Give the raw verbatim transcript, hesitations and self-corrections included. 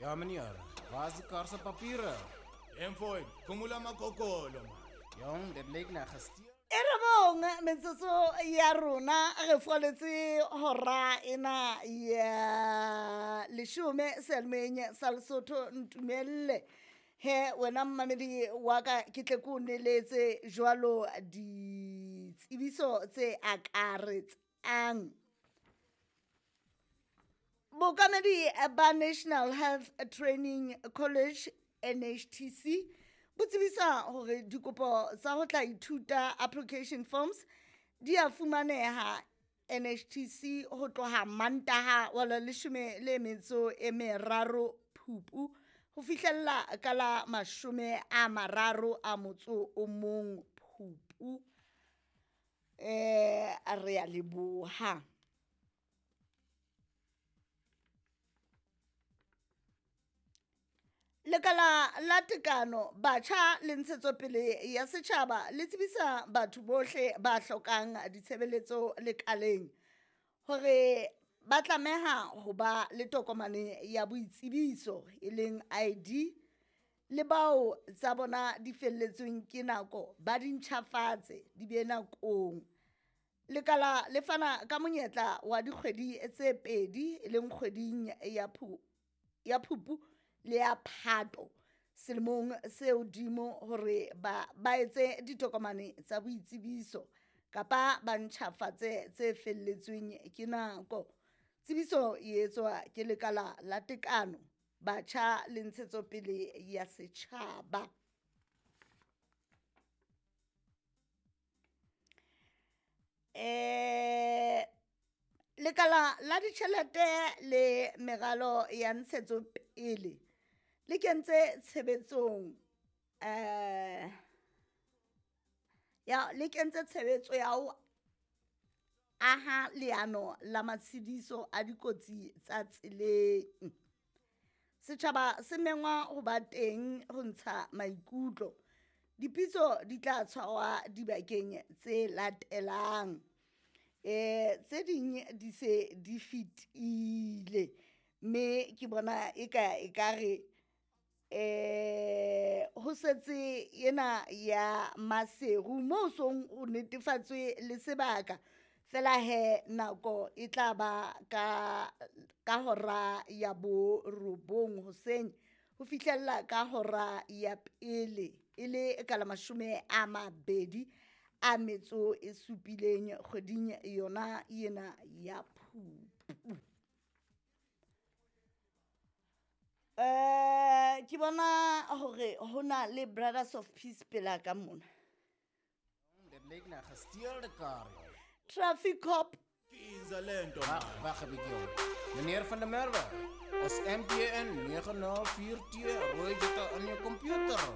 Ja meneer, waar is die kar se papiere? Mfowethu, khumula amakokolo man. Jong, dit lyk na gesteel. E robong metsotso ya rona re foletse hora ena ya leshome seyalemoyeng sa Lesotho. Ntumelle he wena mmamedi wa ka, ke tle ke o neletse jwalo ditsebiso tse akaretsang. Bookamedi ba National Health Training College N H T C bo tsebisa hore dikopo tsa ho tla ithuta application forms di a fumaneha N H T C ho tloha Mantaha wa la leshome le metso e meraro Phupu ho fihlella ka la mashome a mararo a motso o mong Phupu. Eh, re a leboha. Lekala la tekano, batjha le ntshetsopele ya setjhaba le tsebisa batho bohle ba hlokang ditshebeletso lekaleng hore ba tlameha ho ba le tokomane ya boitsebiso e leng I D, le bao tsa bona di felletsweng ke nako ba di ntjhafatse di be nakong. Lekala le fana ka monyetla wa dikgwedi tse pedi e leng kgweding ya Phu-, ya Phupu le ya Phato selemong se hodimo hore ba, ba etse ditokomane tsa boitsebiso kapa ba ntjhafatse tse felletsweng ke nako. Tsebiso e etswa ke lekala la tekano, batjha le ntshetsopele ya setjhaba. Eh, lekala la ditjhelete le meralo ya ntshetsopele le kentse tshebetsong, eh, ya, le kentse tshebetso ya ho aha leano la matshediso a dikotsi tsa tseleng. Setjhaba se mengwa ho ba teng ho ntsha maikutlo. Dipitso di tla tshwarwa dibakeng tse latelang. Eh, tse ding di se di fetile, mme ke bona eka ekare, eh, ho setse ena ya Maseru moo song o netefatswe le sebaka. Fela he nako e tla ba ka, ka hora ya borobong hoseng ho fihlella ka hora ya pele e le ka la mashome a mabedi a metso e supileng kgweding yona ena ya Phupu. Eh, ke bona hore ho na le Brothers of Peace pela ka mona. Dit lyk na gesteelde kar, joh. Traffic cop. Kinza lento. Wag, wag 'n bietjie, jong. Meneer van der Merwe, is M P N nege nul vier twee rooi jette in jou computer?